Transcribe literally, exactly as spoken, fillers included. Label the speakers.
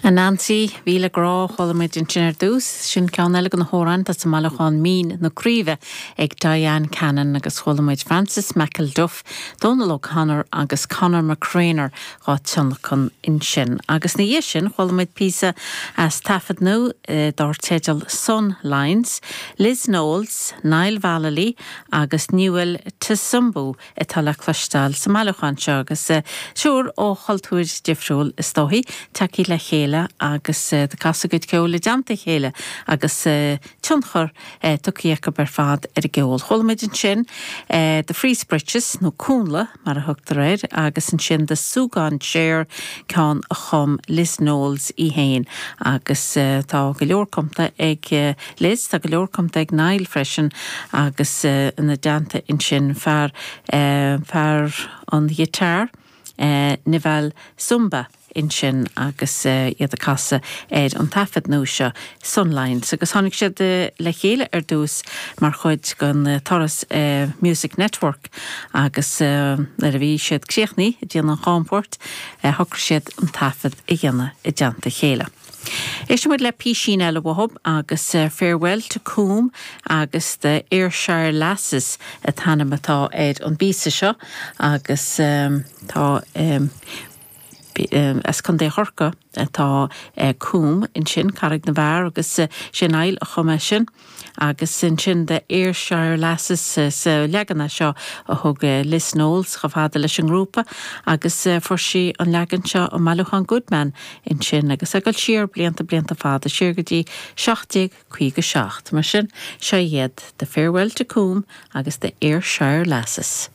Speaker 1: Anansi Mhíle Grá chuala muid ansin ar dtús, sin ceann eile de na hamhráin sa mbailiúchán Mín na Craoibhe ag Diane Cannon agus chuala muid Francis McElduff, Donal O'Connor agus Conor McCreanor á dtionlacan ansin. Agus ina dhiaidh sin chuala muid píosa as taifead nua eh, dar teideal Sun Lines, Liz Knowles, Niall Vallely agus Newell Tsumbu atá le cloisteáil sa mbailiúchán seo agus eh, triúr ó chultúir difriúil is dóichí tagtha le chéile agus uh, casadh a gcuid ceoil i dteannta chéile agus uh, tionchar uh, tugtha acu ar fad ar a gceol. Chuala muid ansin uh, The Frieze Breeches nó Cúnla mar a thugtar air agus ansin The Súgán Chair ceann a chum Liz Knowles í féin agus uh, tá go leor cumtha ag uh, Liz tá go leor cumtha ag Niall freisin agus uh, ina dteannta ansin fear uh, fear an guitar uh, Nival Zumba ansin agus uh, iad ag casadh ar an taifead nua seo Sunlines agus tháinig siad uh, le chéile ar dtús mar chuid den uh, turas uh, Music Network agus uh, nuair a bhí siad críochnaithe ag déanamh an chamchuairt uh, shocraigh siad an taifead a dhéanamh i dteannta chéile. Éistfidh muid le píosa eile uathu agus uh, Farewell to Coom agus the Ayrshire Lasses an t-ainm atá ar an bpíosa seo agus um, tá um, um, as Contae Chorcaí atá uh, Coom ansin Carraig na bhFear agus uh, sin Niall a chum é sin agus ansin The Ayrshire Lasses uh, sa leagan seo a thug uh, Liz Knowles chomh fada leis an ngrúpa agus uh, fuair sí an leagan seo ón mbailiúchán Goodman ansin agus ag dul siar blianta blianta fada siar go dtí seacht caoga seacht mar sin seo iad The Farewell to Coom agus The Ayrshire Lasses.